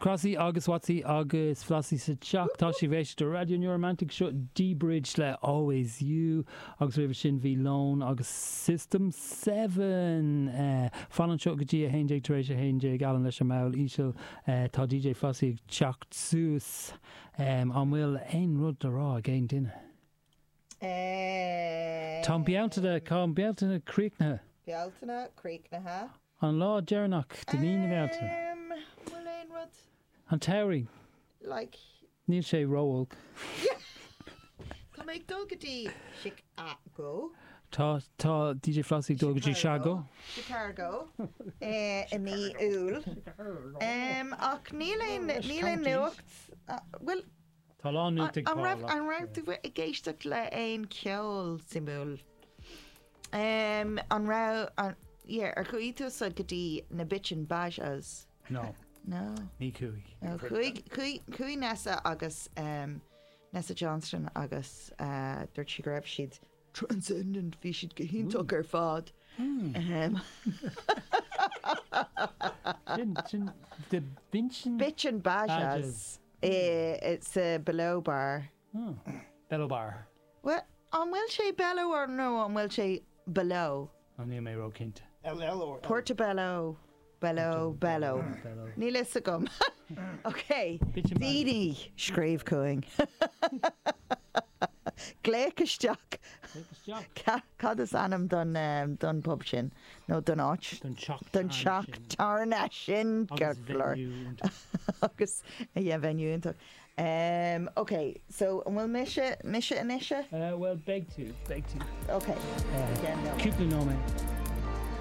Crossy agus Wattsy agus Flossie sa teach. Tá sibh ag éisteacht le Raidió New Romantic seo D-Bridge le Always You agus roimhe sin bhí Lone agus System 7. Fan anseo go dtí 11 tar éis 11 Alan leis an mball íseal. Tá DJ Flossie ag teacht suas. An bhfuil aon rud le rá ag aon duine? Tá an Bealtaine, tá an Bealtaine críochnaithe. Bealtaine críochnaithe. An lá deireanach de mí na Bealtaine. An bhfuil aon rud? An tsamhraidh. Like. Níl sé ró-olc. Yeah. Tá mé ag dul go dtí Chicago. Tá, tá DJ Flossie ag dul go dtí Chicago. Chicago i mí Iúil. Ach níl aon, níl aon nuacht, bhfuil, Tá a lán nuacht ag An Paul raibh, ach. an raibh tú ag éisteacht le aon cheol suimiúil? An raibh, an, yeah, ar chuaigh tusa go dtí na Bitchin' Bajas? No. No. Ní chuaigh. No, chuaigh, chuaigh, chuaigh Nessa agus, Nessa Johnston agus dúirt sí go raibh siad transcendent, bhí siad go hiontach ar fad. Sin, sin, the Bitchin'. Bitchin' Bajas. Sa Below Bar. Bellow Bar. Bhuel, an bhfuil sé Bellow or nó an bhfuil sé Below? Oh, níl mé ró-chinnte. LL or L? Portobello, Bellow, Bellow. Níl fhios agam. Ok, daoine, scríobh chugainn. Glaoch isteach. Cad is ainm don don pub sin? Nó don áit? Don teach Don teach tábhairne sin, ceart go leor. Agus yeah, venue iontach. Um, ok, so an bhfuil mise, mise anois? Bhuel, beidh tú, beidh tú. Ok. Cúpla nóiméad.